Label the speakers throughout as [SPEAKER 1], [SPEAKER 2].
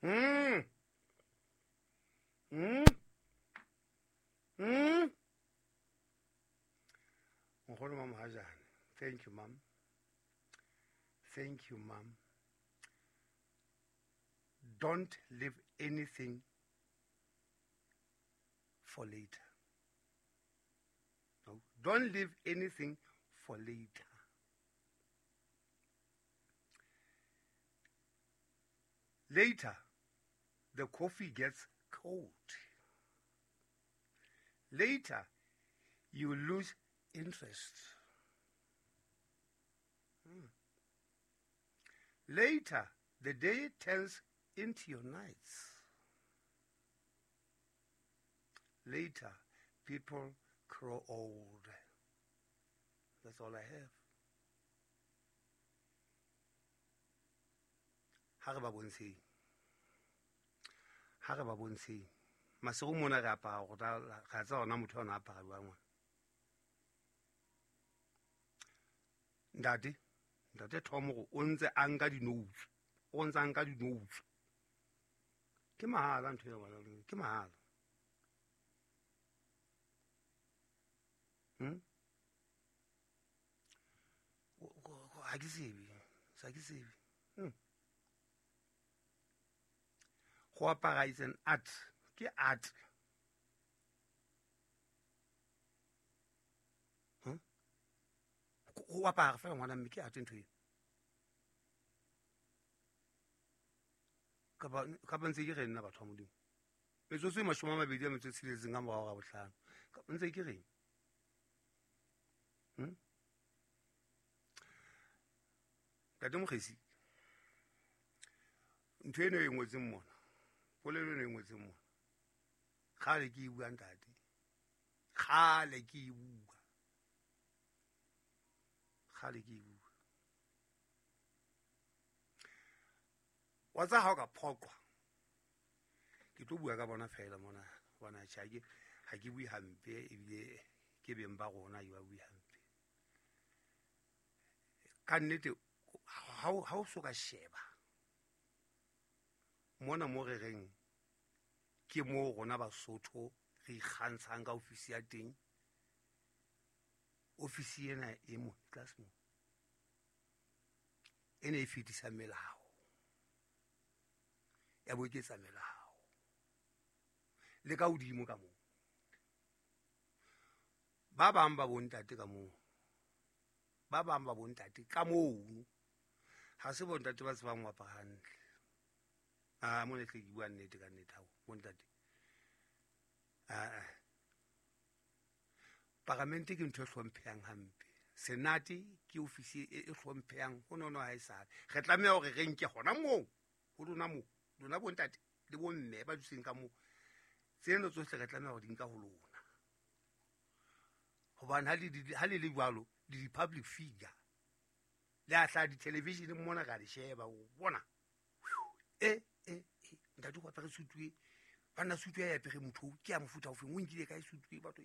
[SPEAKER 1] Nkgono wa Mohajane, thank you, ma'am. Thank you, ma'am. Don't leave anything for later. No, don't leave anything for later. Later, the coffee gets cold. Later, you lose interest. Later, the day turns into your nights. Later, people grow old. That's all I have. Ha re ba bontsheng. Ha re ba bontsheng. Masigo mona re apara go tla ga tsa ona motho ona apara jwang ngwana. Ntate, ntate Tom go o ntse a nka di-notes. O ntse a nka di-notes. Ke mahala ntho eo ngwana, ke mahala. Ha ke tsebe, ha ke tsebe. Go apara is an art. Ke art. Go apara fela ngwana mme ke art ntho eo. Kapa ntse ke re nna batho ba Modimo. Metsotso e 26 ka morao ga bohlano. Ntse ke reng? Ntate Mokgesi, ntho eno e ngotseng mona, polelo eno e ngotseng mona, kgale ke e bua ntate, kgale ke e bua, kgale ke e bua. Wa tsa ha o ka phoqwa, ke tlo bua ka bona fela mona, hobane tjhe, ha ke bue hampe ebile ke beng ba rona ke ba bue hampe. Ka nnete ha o so ka sheba mona mo re reng ke mo rona Basotho re ikgantshang ka ofisi ya teng. Ofisi ena e mo tlase mo e ne e fetisa melao, ya boeketsa melao le ka hodimo ka moo. Ba bang ba bontate ka moo, ba bang ba bontate ka moo ha se bontate ba tsebang ho apara hantle. Ah, mona hle ke bua nnete ka nnete hao bontate. Ah, paramente ke ntho e hlomphehang hampe. Senate ke ofisi e hlomphehang ho nono ha e sale. Re tlameha hore re nke hona moo, ho lona moo, lona bontate le bomme ba dutseng ka moo. Tseno tsohle re tlameha hore di nka ho lona. Hobane ha le le jwalo, le di-public figure. Le a hlaha di-television mona ka le sheba, o bona. Ntate o apere sutu e, banna sutu ya apere motho ke ya mofuta ofeng, o nkile kae sutu e batho?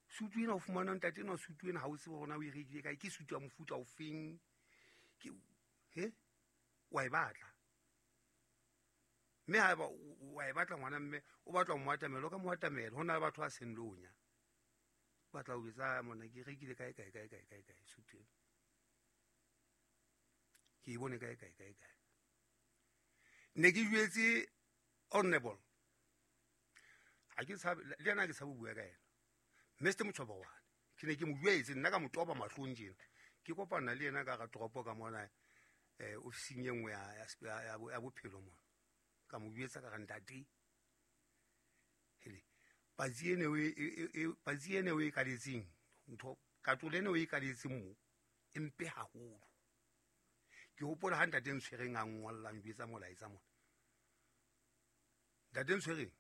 [SPEAKER 1] Sutu ena o fumana ntate ena sutu ena ha o tsebe hore na o e rekile kae, ke sutu ya mofuta ofeng? Ke he wa e batla. Mme haeba wa e batla ngwana mme o batla ho mo atamela, o ka mo atamela. Ho na le batho ba seng lonya. Batla ho etsa mona ke rekile kae kae kae kae kae kae sutu ena. Ke e bone kae kae kae kae. Ne ke jwetse honorable. Ha ke tshabe le yena, ke tshabe ho bua ka yena. Mr Motshobokwane, ke ne ke mo jwetse nna ka mo toba mahlong tjena. Ke kopana le yena ka hara toropo ka mona, ofising e nngwe ya bophelo mona. Ka mo jwetsa ka re ntate, hele, patsi ene o patsi ene o e kaletseng, ntho katolo ene o e kaletseng mo, e mpe haholo. Ke hopola ha ntate Ntshwereng a ngollang jwetsa molaetsa mona. Ntate Ntshwereng,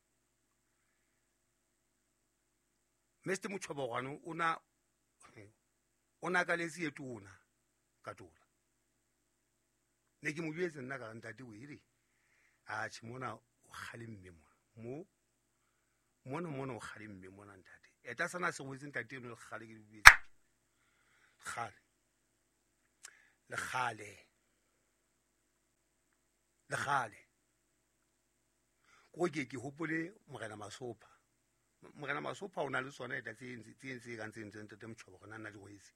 [SPEAKER 1] Mr Motshobokwane o na kaletse e tona katola. Ne ke mo jwetse nna ka re ntate o ere, atjhe mona o kgalemme mona. Mo mona mona o kgalemme mona ntate. Eta sana se wetse ntate eno le kgale ke le jwetse. Kgale. Le kgale. Le Lekgale ko ke hopole Morena Masopha. Morena Masopha o na le tsona eta tse tse kang tse ntate Motjhobo gona nna di rwetse.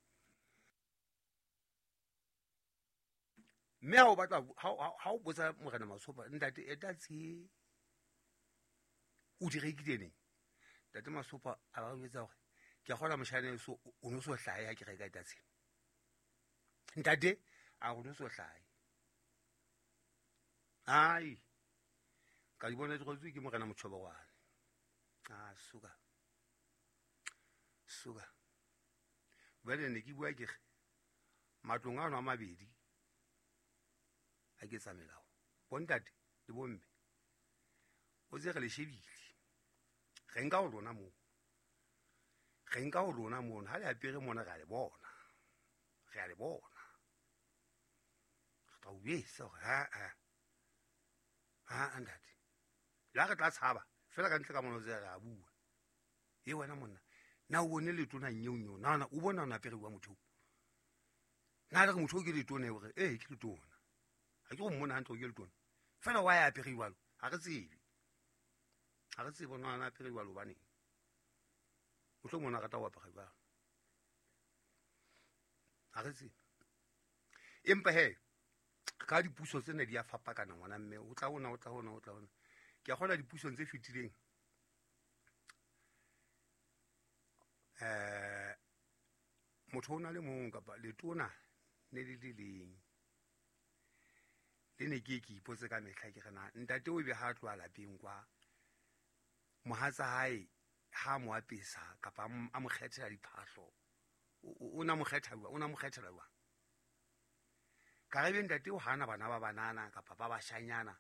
[SPEAKER 1] Mme ha o batla ha o botsa Morena Masopha ntate eta tse o di rekile neng? Ntate Masopha a ba jwetsa hore ke a kgona moshane so o no so hlahe ha ke reka eta tsena. Ntate a o no so hlahe. Ai ka di bona di rwetswe ke Morena Motjhobogwane. Ah suka. Suka. Jwale ne ke bua ke re matlong ano a mabedi a ke tsa melao. Bontate le bomme o tse re le shebile. Re nka ho lona moo. Re nka ho lona moo ha le apere mona re a le bona. Re a le bona. Re tla o jwetsa hore ha ntate. La re tla tshaba fela ka ntle ka mona o tse re a bua. E wena monna na o bone letona nyeonyeo na o bona o apere wa motho. Na le re motho o ke letona hore eh ke letona. Ha ke go mmona hantle ke letona. Fela wa ya apere jwalo ha re tsebe. Ha re tsebe bona na apere jwalo hobane. Mohlomong o rata ho apara jwalo. Ha re tsebe. Empa he ka dipuso tsena di a fapakana ngwana mme o tla ona o tla ona o tla ona. Ke a kgona dipusong tse fetileng. Motho o na le mong kapa letona ne le le leng. Le ne ke ipotse ka mehla ke re na ntate o be ha tloha lapeng kwa mohatsa hae ha mo apesa kapa a mo kgethela diphahlo o na mo kgetha jwang, o na mo kgethela jwang? Ka re be ntate o hana bana ba banana kapa ba bashanyana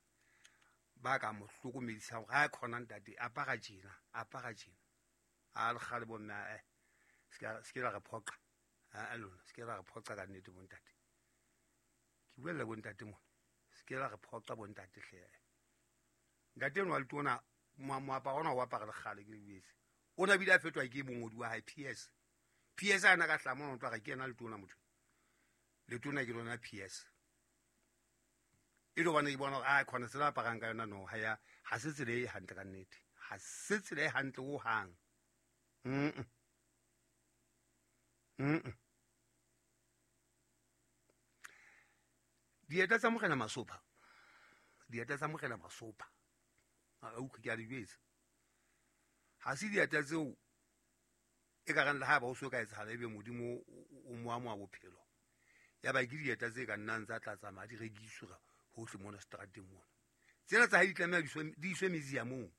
[SPEAKER 1] ba ka mo hlokomedisang hore ha khona ntate apara tjena apara tjena. A le kgale bomme se ke la re phoqa. A lona se ke la re phoqa ka nnete bontate. Ke buella bontate mona. Se ke la re phoqa bontate hle. Ntate enwa le tona moaparo ona o apara le kgale ke le jwetse. O na bile a fetoha ke mongodi wa hae PS. PS ana ka hlama o tla re ke yena letona motho. Letona ke lona PS. E lo bana ke bona hore a khona tsela aparang ka yona no ha ya ha se tsela e hantle ka nnete. Ha se tsela e hantle ho hang. Dieta tsa Morena Masopha. Dieta tsa Morena Masopha. A utlwe ke a di jwetsa. Ha se dieta tseo e ka reng le ha ba o so ka etsahala ebe Modimo o mo amoha bophelo. Ya ba ke dieta tse ka nnang tsa tla tsamaya di rekiswa hohle mona seterateng mona. Tsena tsa hae di tlameha di iswe museumong.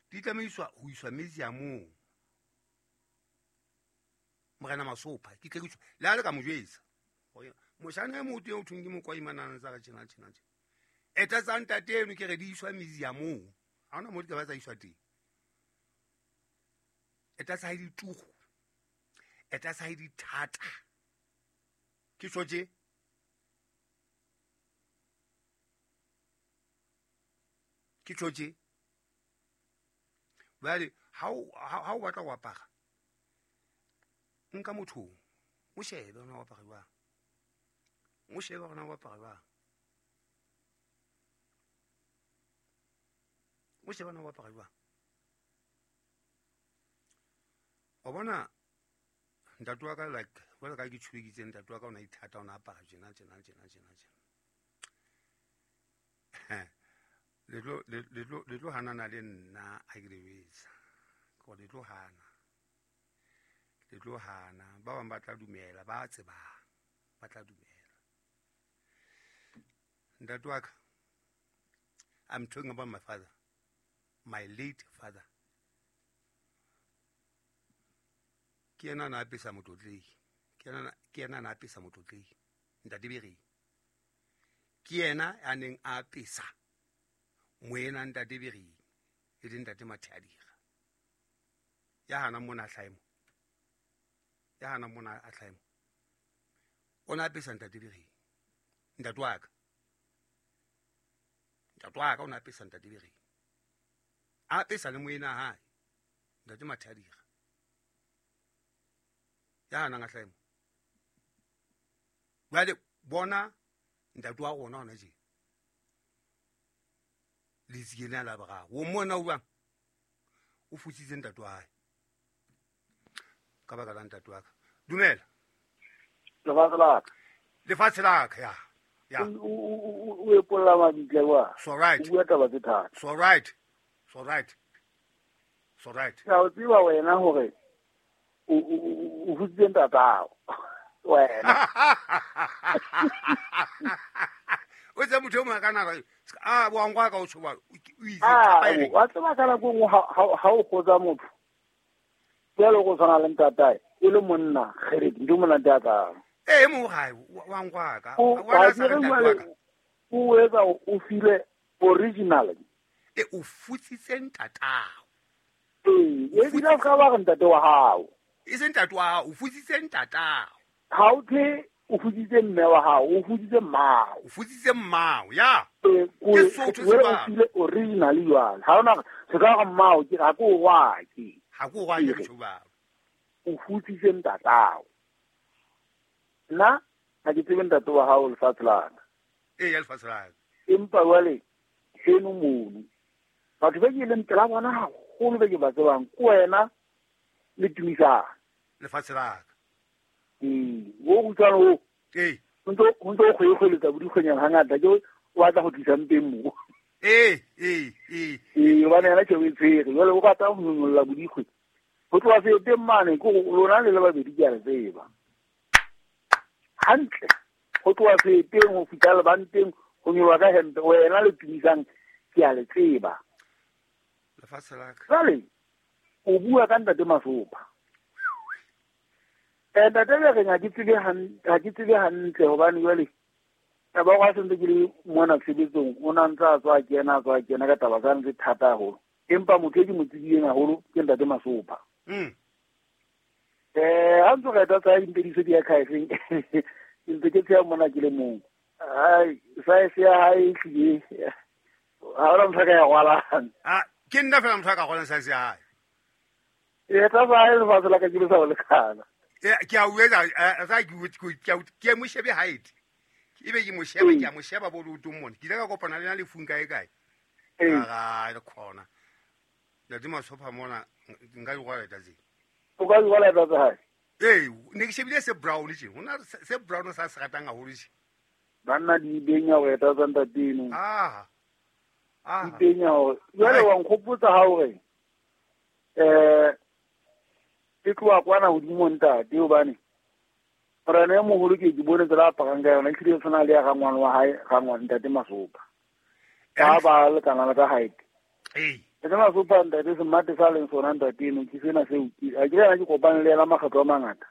[SPEAKER 1] Di tlameha ho iswa museumong. Morena Masopha ke tle ke le ha le ka mo jwetsa. Moshana e motho eo thong ke mokwaimana tsa re tjena tjena tjena. Eta tsa ntate eno ke re di iswa museumong. Ha hona mo di ka ba tsa iswa teng. Eta tsa hae di tugu. Eta tsa hae di thata. Ke tjho tje. Ke tjho tje. Jwale ha o batla ho apara nka motho o shebe ona o apara jwang. O shebe ona o apara jwang. O shebe ona o apara jwang. O bona ntate wa ka like jwalo ka ke tshwekitse ntate wa ka o na ithata o na apara tjena tjena tjena tjena tjena. Le tlo hanana le nna ha ke le jwetsa. Ke le tlo hana. Le tlo hana. Ba bang ba tla dumela, ba tsebang. Ba tla dumela. Ntate wa ka, I'm talking about my father. My late father. Ke yena na apesa motlotlei. Ke yena na apesa motlotlei. Ntate Bereng. Ke yena a neng a apesa moena ntate Bereng e leng ntate Mathadira. Ya hana mona hlaemo. Ya hana mona a hlaemo. O na apesa ntate Bereng. Ntate wa ka. Ntate wa ka o na apesa ntate Bereng. A apesa le moena hae. Ntate Mathadira. Ya hana nga hlaemo. Jwale bona ntate wa rona hona tje. Letsikeng la boraro o mmona o jwang o futsitse ntate wa hae ka baka la ntate wa ka. Dumela
[SPEAKER 2] lefatshe la ka,
[SPEAKER 1] lefatshe la ka ya ya
[SPEAKER 2] o epolla mabitla wa
[SPEAKER 1] so right,
[SPEAKER 2] o bua taba tse thata.
[SPEAKER 1] So right, so right, so right.
[SPEAKER 2] Ke a o tseba wena hore o futsitse ntatao wena.
[SPEAKER 1] O tse motho o mongwe ka nako a boangwa ka o tshoba o itse thapa e reng.
[SPEAKER 2] Wa tseba ka nako e nngwe ha o kgotsa motho jwalo go tshwana le ntatae e le monna kgeredi ntho e monate ya kang.
[SPEAKER 1] Ee, mo gae wa ngwaka
[SPEAKER 2] O
[SPEAKER 1] wa
[SPEAKER 2] wa
[SPEAKER 1] sa
[SPEAKER 2] kere
[SPEAKER 1] re ntate
[SPEAKER 2] jwale
[SPEAKER 1] wa ka.
[SPEAKER 2] o etsa o file original.
[SPEAKER 1] E o futsitse ntatao.
[SPEAKER 2] Ee, ebile o ka ba re ntate wa hao.
[SPEAKER 1] E se ntate wa hao, o futsitse ntatao.
[SPEAKER 2] Ha o the o futsitse mme wa hao, o futsitse mmao.
[SPEAKER 1] O futsitse mmao, ya.
[SPEAKER 2] Ee,
[SPEAKER 1] Ke Sotho
[SPEAKER 2] o
[SPEAKER 1] se
[SPEAKER 2] file original jwale. Ha ona se ka re mmao ke ga ke o rwake.
[SPEAKER 1] Ha ke o rwake ke tjho.
[SPEAKER 2] O futsitse ntatao. Nna ha ke tsebe ntate wa hao lefatshe la ka.
[SPEAKER 1] Ee, ya lefatshe la ka.
[SPEAKER 2] Empa jwale seno mono batho ba ke leng pela bona haholo ba ke ba tsebang ke wena le Tumisang.
[SPEAKER 1] Lefatshe la ka.
[SPEAKER 2] Ee, o kgutshwane o.
[SPEAKER 1] Ee.
[SPEAKER 2] O ntso o kgwekgweletsa bo dikgwenyana hangata ke o batla ho tlisa mpeng mo.
[SPEAKER 1] Ee, ee, ee.
[SPEAKER 2] Ee, hobane yena tjhe o e tshwere. Jwale o rata ho nyonyolla bo dikgwe. Ho tloha seeteng mane ke hore lona le le babedi ke a le tseba. Hantle. Ho tloha seeteng ho fihla lebanteng ho nyoloha ka hempe wena le Tumisang ke a le tseba.
[SPEAKER 1] Lefatshe la ka.
[SPEAKER 2] Jwale o bua ka ntate Masopha. Ntate le reng ha ke tsebe ha ke tsebe hantle hobane jwale taba ya sentse ke le mona tshebetsong o na ntse a tswa kena a tswa kena ka taba tsane tse thata haholo. Empa motho e ke mo tsebileng haholo ke ntate Masopha. Ha ntse re eta tsa dimpediso di ya khaefeng ke ntse ke tsheha mona ke le mong. Ai, size ya hae e hlile ha hona motho a ka ya rwalang.
[SPEAKER 1] Ah, ke nna fela motho a ka rwalang size ya hae.
[SPEAKER 2] E tla sa hae lefatshe la ka ke le sa ho lekana.
[SPEAKER 1] Ke a o etsa, sa ke mo shebe height. Ebe ke mo sheba, ke a mo sheba bo leotong mona. Ke ile ka kopana le yena lefung kae kae. Ka re khona. Ntate Masopha mona nka di rwala tsa.
[SPEAKER 2] O ka di rwala tsa hae?
[SPEAKER 1] Ee, ne ke shebile se brown tje. Hona se brown sa se ratang haholo tje.
[SPEAKER 2] Banna di benya ho eta tsa ntate eno.
[SPEAKER 1] Ah. Ah.
[SPEAKER 2] Di benya hore jwale wa nkgopotsa ha hore ke tloha kwana hodimo ntate hobane morena e moholo ke ke bone tsela a aparang ka yona ehlile e tshwana le ya rangwane wa hae rangwane ntate Masopha. Ba ba lekana le ka height.
[SPEAKER 1] Ee.
[SPEAKER 2] Ntate Masopha ntate semate sa leng sona ntate eno ke sena seo ke a ke yena ke kopane le yena makgetlo a mangata.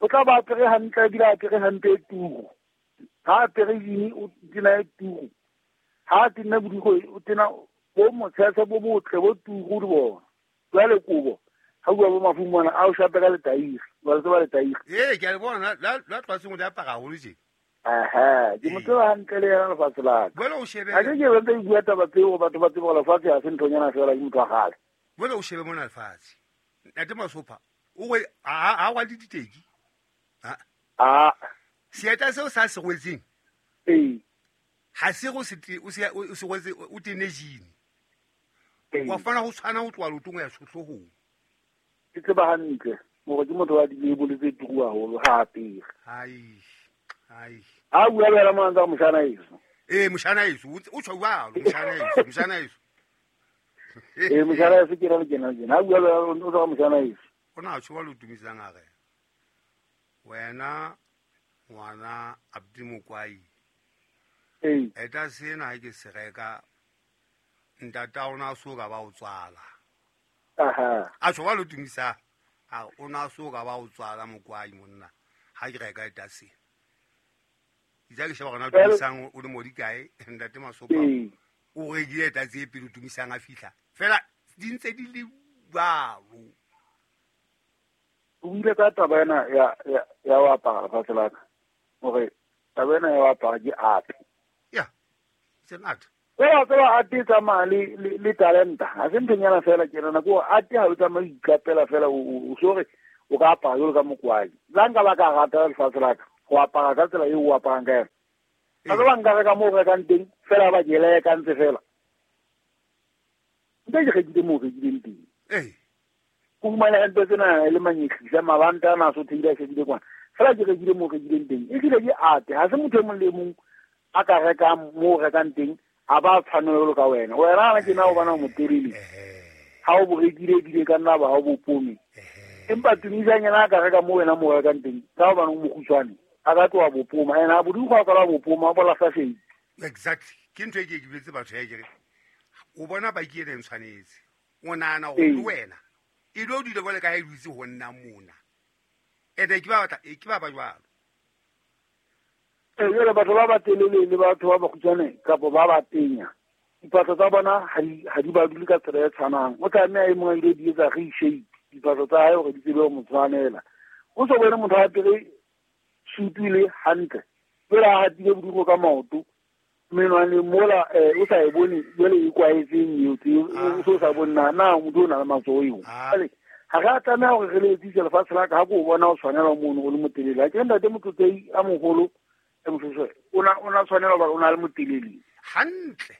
[SPEAKER 2] O tla ba apere hantle ebile a apere hantle e turu. Ha apere jini o tena e turu. Ha tena bodikgwe o tena bo motshetshe bo botle bo turu di bona. Jwale kobo ha bua bo mafu mona a o shape ka letairi. Ba tseba letairi.
[SPEAKER 1] Ee, ke a le bona la tlwatseng o di apara haholo tje.
[SPEAKER 2] Aha, ke mo tseba hantle le yena lefatshe la ka.
[SPEAKER 1] Jwale o shebe.
[SPEAKER 2] Ha ke ke ntse ke bua taba tseo batho ba tsebe hore lefatshe ha se nthonyana fela ke motho wa kgale.
[SPEAKER 1] Jwale o shebe mona lefatshe. Ntate Masopha o re ha wa le diteki.
[SPEAKER 2] Ah.
[SPEAKER 1] Seeta seo sa se rwetseng.
[SPEAKER 2] Ee.
[SPEAKER 1] Ha se go se o se rwetse o tene jini. Wa fana ho tshwana ho tloha leotong ho ya hloohong.
[SPEAKER 2] Ke tseba hantle hore ke motho wa dilebole tse turu haholo ha apere.
[SPEAKER 1] Hai. Hai.
[SPEAKER 2] Ha bua le yena mona ntse a re moshana eso.
[SPEAKER 1] Ee, moshana eso, o tjho jwalo, moshana eso, moshana eso.
[SPEAKER 2] Ee, moshana eso ke ra le kena le kena. Ha bua le yena o tsa moshana eso.
[SPEAKER 1] O na tjho jwalo Tumisang a re. Wena ngwana Abdi Mokwai.
[SPEAKER 2] Ee.
[SPEAKER 1] Eta sena ha ke se reka ntata o na so ka ba o tswala.
[SPEAKER 2] Aha.
[SPEAKER 1] A tjho jwalo Tumisa. A o na so ka ba o tswala Mokwai monna. Ha ke reka eta sena. Itse ke sheba gona Tumisang o le modi kae ntate Masopha. O rekile eta tse pele Tumisang a fihla. Fela di ntse di le jwalo.
[SPEAKER 2] O buile ka taba ena ya ho apara lefatshe la ka. Hore taba ena ya ho apara ke art.
[SPEAKER 1] Yeah. It's an art.
[SPEAKER 2] Wa tseba art e tsamaya le talenta. Ha se nthonyana fela ke nana ko art ha o tsamaye o iqapela fela o sore o ka apara jwalo ka Mokwai. La nka ba ka rata lefatshe la ka ho apara ka tsela eo o aparang ka yona. Ga ke ba nka reka mo o rekang teng fela ba ke leka ntse fela. Nte ke rekile mo o rekileng teng. Ko fumane hempe tsena e le manyetlisa mabanta a na so theile a shebile kwana. Fela ke rekile mo o rekileng teng. E tlile ke ate ha se motho e mong le mong a ka rekang mo o rekang teng a ba tshwanelo ka wena. Wena ana ke na o bana o motelele. Ha o bo rekile ebile ka nna ba ha o bo pome. Empa Tumisang yena a ka reka mo wena mo o rekang teng ka hobane o mokgutshwane a ka tloha bopoma ene a bodimo a kala bopoma a bola sa shape.
[SPEAKER 1] Exactly. Ke ntho e ke ke boletse batho ya kere o bona baki ena e ntshwanetse o nahana hore le wena e lo dule jwale ka ha e dutse ho nna mona ene ke ba batla ke ba ba jwalo.
[SPEAKER 2] Jwale batho ba batelele le batho ba bakgutshwane kapa ba ba tenya diphahlo tsa bona ha di ba dule ka tsela e tshwanang. O tlameha e mong a ile di etsa reshape diphahlo tsa hae hore di tsebe ho mo tshwanela. O so bone motho a apere sutu le hantle jwale a hatile bodugo ka maoto menwane mola o sa e bone jwale e kwaetseng eo o so sa bone na motho o na le matsoho eo. Jwale ha re a tlameha hore re le etsise lefatshe la ka ha ko o bona o tshwanela mono o le motelele. Ha ke ntate Motlotlei a moholo e Moshoeshoe o na tshwanela hobane o na le motelele
[SPEAKER 1] hantle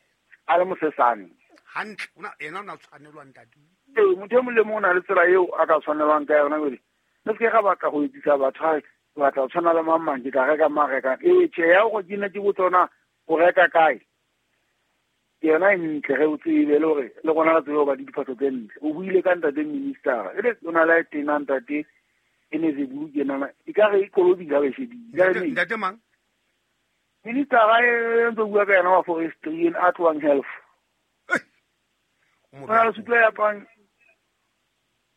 [SPEAKER 2] a le mosesane
[SPEAKER 1] hantle o na ena o na tshwanelwa ntate.
[SPEAKER 2] Ee, motho e mong le mong o na le tsela eo a ka tshwanelwang ka yona. Jwale le se ke ga batla ho etsisa batho ha batla ho tshwana le mang mang ke tla reka mang rekang. Ee, tjhe ya hore ke ne ke botsa hore na o reka kae ke yona e ntle ge o tsebe le hore le rona re tsebe ho ba le diphahlo tse ntle. O buile ka ntate minister e le o na le tena ntate e ne zebulu ke nana e ka re e kolobile ha ba e shebile.
[SPEAKER 1] Ntate mang?
[SPEAKER 2] Minister e ntse bua ka yena wa forestry a tlohang health. O na le sutu ya aparang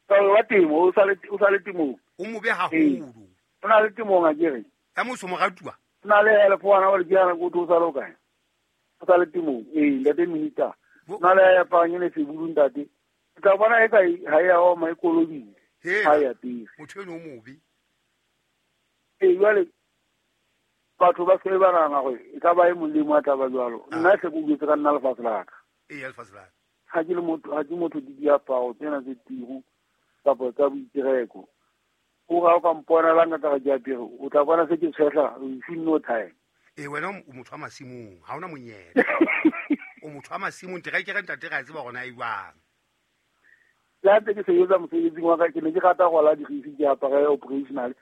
[SPEAKER 2] wa temo o sa le temong.
[SPEAKER 1] O mobe haholo.
[SPEAKER 2] O na le temong akere.
[SPEAKER 1] Ya motho moratuwa.
[SPEAKER 2] O na le help wana wa le ke ko o sa le kae. O sa le temong. Ee, ntate minister. O na le ya aparang ene sebulu ntate. O tla bona e ka ha ya oma e kolobile. Ha ya teng.
[SPEAKER 1] Motho eno o mobe.
[SPEAKER 2] Ee, jwale batho ba se ba nahana hore e ka ba e mong le mong a tla ba jwalo. Nna hle ke utlwetse ka nna lefatshe la ka.
[SPEAKER 1] Ee, lefatshe la ka.
[SPEAKER 2] Ha ke le motho, ha ke motho di diaparo tsena tse tiro kapa tsa boitereko. O ga o ka mpona la nka ka ke apere, o tla bona se ke tshehla in no time.
[SPEAKER 1] Ee, wena o motho wa masimong, ha ona monyetla. O motho wa masimong, terekere ntate re a tseba hore na e jwang.
[SPEAKER 2] Le ha ntse ke sebetsa mosebetsing wa ka, ke ne ke rata go rwala dirisi ke apare operational.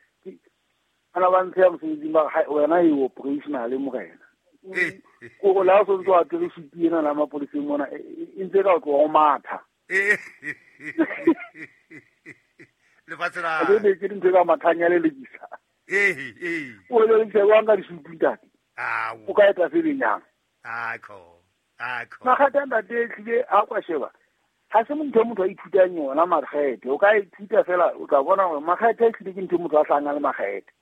[SPEAKER 2] Ana ba ntsheya mosebetsing ba re, wena e operational morena. Ko go la o sontse o apere sutu ena la mapoleseng mona, e ntse ka o tloha o matha.
[SPEAKER 1] Lefatshe la
[SPEAKER 2] ke ne ke ntse ka mathang ya lelekisa.
[SPEAKER 1] Ee.
[SPEAKER 2] O le ntse wa nka disutu ntate. O ka etsa se benyang.
[SPEAKER 1] Akho.
[SPEAKER 2] Makgethe a ntate tlile a kwa sheba. Ha se motho motho a ithutang yona makgethe. O ka ithuta fela o tla bona hore makgethe e tlile ke ntho motho a hlahang le makgethe.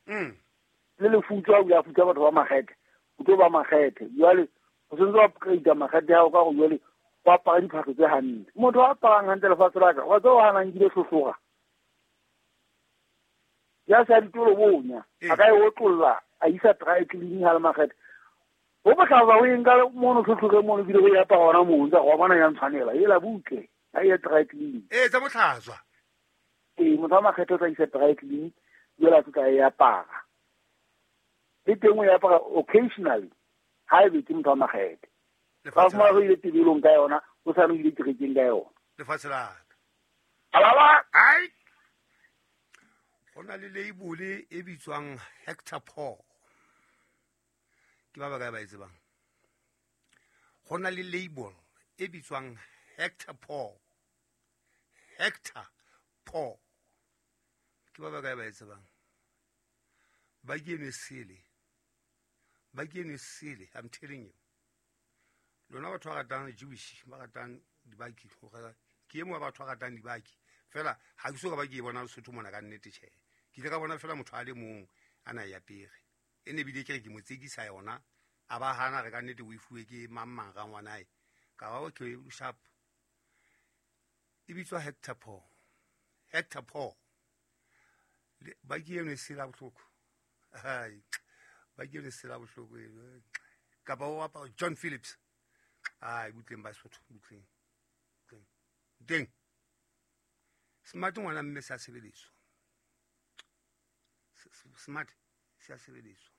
[SPEAKER 2] Le lefutso o ya futsa batho ba makgethe. O tlo ba makgethe. Jwale o sentse wa upgrade makgethe a hao ka hore jwale o apara diphahlo tse hantle. Motho a aparang hantle lefatshe la ka, wa tseba o hana nkile hlohloga. Ya sa ditolo bonya, a ka e otlolla, a isa dry cleaning ha le makgethe. Ho bohlaba o e nka mono hlohloge mono bile o e apara hona moo, ntse wa bona ya ntshwanela, ela butle, a ye dry cleaning.
[SPEAKER 1] Ee, tsa botlhatswa.
[SPEAKER 2] Ee, motho wa makgethe o tla isa dry cleaning, jwale a tla e apara. Le teng o e apara occasionally, ha ebe ke motho wa makgethe. Ba fumana o ile tebelong ka yona, o sa no ile kerekeng ka yona.
[SPEAKER 1] Lefatshe la ka.
[SPEAKER 2] Alaba!
[SPEAKER 1] Ai! Ho na le label e bitswang Hector Paul. Ke ba bakae ba e tsebang? Ho na le label e bitswang Hector Paul. Hector Paul. Ke ba bakae ba e tsebang? Ba ke eno e sele. Ba ke eno e sele, I'm telling you. Lona batho ba ratang Jewish, ba ratang dibaki, ke e mong wa batho ba ratang dibaki. Fela ha ke so ka ba ke e bona Lesotho mona ka nnete tjhe. Ke ile ka bona fela motho a le mong a na e apere. E ne bile ke re ke mo tsekisa yona, a ba hana re ka nnete o e fuwe ke mang mang rangwanae. Ka ba okay, sharp. E bitswa Hector Paul. Hector Paul. Ba ke eno e sela bohloko. Hai. Ba ke eno e sela bohloko eno. Kapa o apara John Phillips. Ai, butleng ba Sotho, butleng. Teng. Smart ngwana mme se a sebediswa. Smart se a sebediswa.